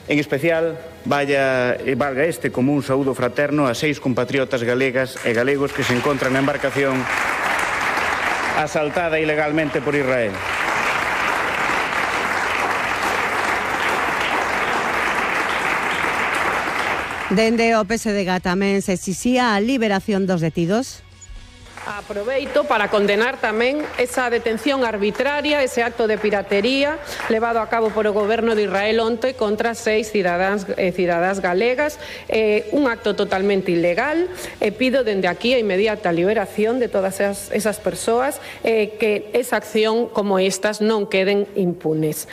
En especial, valga este como un saúdo fraterno a 6 compatriotas galegas e galegos que se encontran na embarcación asaltada ilegalmente por Israel. Dende o PSDG tamén se exixía a liberación dos detidos. Aproveito para condenar tamén esa detención arbitraria, ese acto de piratería levado a cabo por o goberno de Israel onte contra 6 cidadás galegas, un acto totalmente ilegal, e pido dende aquí a inmediata liberación de todas esas persoas, que esa acción como estas non queden impunes.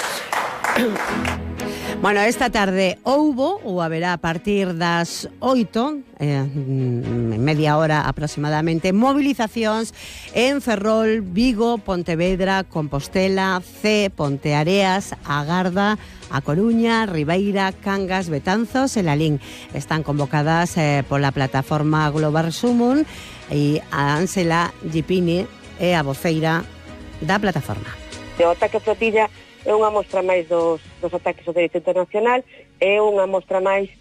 Bueno, esta tarde houbo ou haberá a partir das 8, media hora aproximadamente, movilizacións en Ferrol, Vigo, Pontevedra, Compostela, C, Ponteareas, A Garda, A Coruña, Ribeira, Cangas, Betanzos e Lalín. Están convocadas pola plataforma Global Sumun e a Ánsela Gipini é a voceira da plataforma. O ataque a flotilla é unha mostra máis dos ataques ao dereito internacional, é unha mostra máis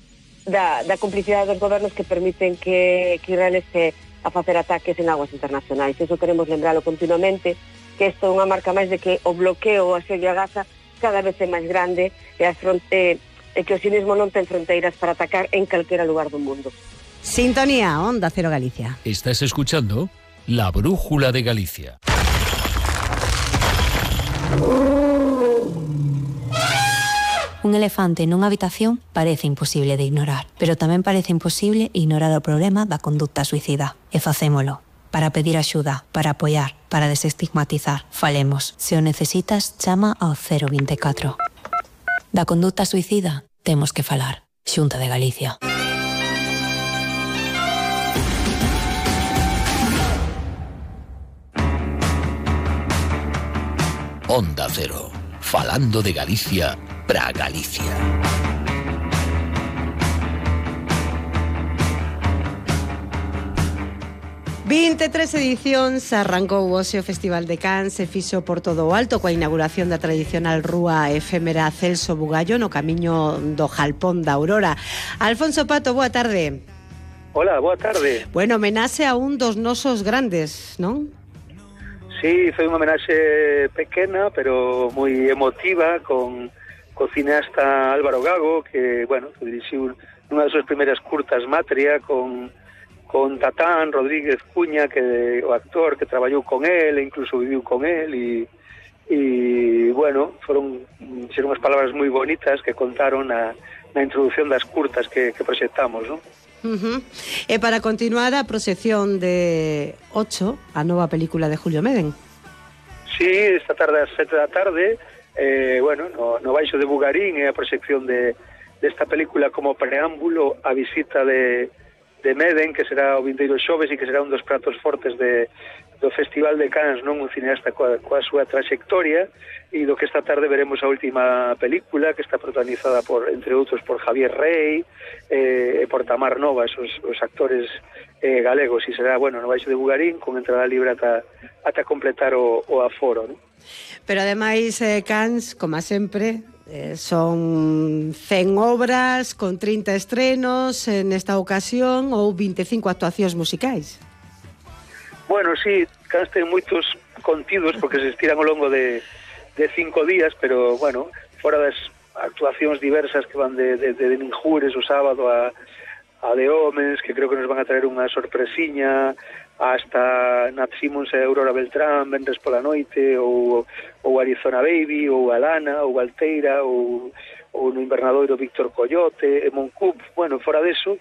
da complicidade dos gobernos que permiten que Israel este a facer ataques en aguas internacionais. Eso queremos lembralo continuamente, que isto é unha marca máis de que o bloqueo ou asedio a Gaza cada vez é máis grande e que o sionismo non ten fronteiras para atacar en calquera lugar do mundo. Sintonía, Onda Cero Galicia. Estás escuchando La Brújula de Galicia. Un elefante nunha habitación parece imposible de ignorar, pero tamén parece imposible ignorar o problema da conducta suicida. E facémolo. Para pedir axuda, para apoiar, para desestigmatizar. Falemos. Se o necesitas, chama ao 024. Da conducta suicida temos que falar. Xunta de Galicia. Onda Cero. Falando de Galicia para Galicia. Tres edicións arrancou hoxe o Festival de Cans e fixo por todo o alto coa inauguración da tradicional rúa efémera Celso Bugallo no camiño do Jalpón da Aurora. Alfonso Pato, boa tarde. Hola, boa tarde. Bueno, homenaxe a un dos nosos grandes, non? Sí, foi unha homenaxe pequena, pero moi emotiva, con o cineasta Álvaro Gago, que, bueno, que dirixiu unha das súas primeiras curtas, Matria, con Tatán Rodríguez Cuña, que o actor que traballou con él, e incluso viviu con él, e bueno, foron unhas palabras moi bonitas que contaron na introducción das curtas que proxectamos, non? E para continuar a proxección de 8, a nova película de Julio Meden. Sí, esta tarde ás 7 da tarde, bueno, no Baixo de Bugarín é a proxección desta película como preámbulo a visita de Meden, que será o vindeiro xoves e que será un dos pratos fortes do Festival de Cans, non? Un cineasta coa súa traxectoria, e do que esta tarde veremos a última película, que está protagonizada entre outros por Javier Rey e por Tamar Novas, os actores galegos, e será, bueno, no Baixo de Bugarín, con entrada libre ata completar o aforo, non? Pero ademais, Cans, como sempre, son 100 obras con 30 estrenos nesta ocasión ou 25 actuacións musicais. Bueno, sí, Cans ten moitos contidos porque se estiran ao longo de 5 días, pero, bueno, fora das actuacións diversas que van de Ninjures o sábado a de Homens, que creo que nos van a traer unha sorpresiña, hasta Nat Simmons e Aurora Beltrán venres pola noite, ou Arizona Baby, ou Alana, ou Alteira, ou no Invernadoiro Víctor Coyote, e Moncup. Bueno, fora deso,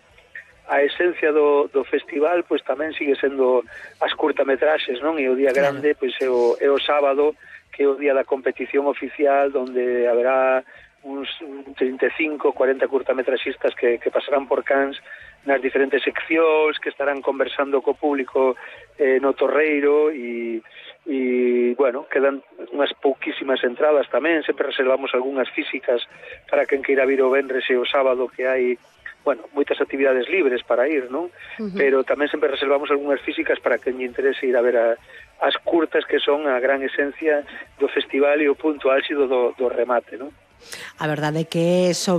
a esencia do festival pois tamén sigue sendo as curtametraxes, non? E o día grande pois é o sábado, que é o día da competición oficial, onde haberá uns 35, 40 curtametraxistas que pasarán por Cans nas diferentes seccións, que estarán conversando co público no Torreiro, e bueno, quedan unhas pouquísimas entradas tamén, sempre reservamos algunhas físicas para quen queira vir o venres e o sábado, que hai, bueno, moitas actividades libres para ir, non? Pero tamén sempre reservamos algunhas físicas para quen lle interese ir a ver as curtas, que son a gran esencia do festival e o punto álxido do remate, non? A verdade é que sobre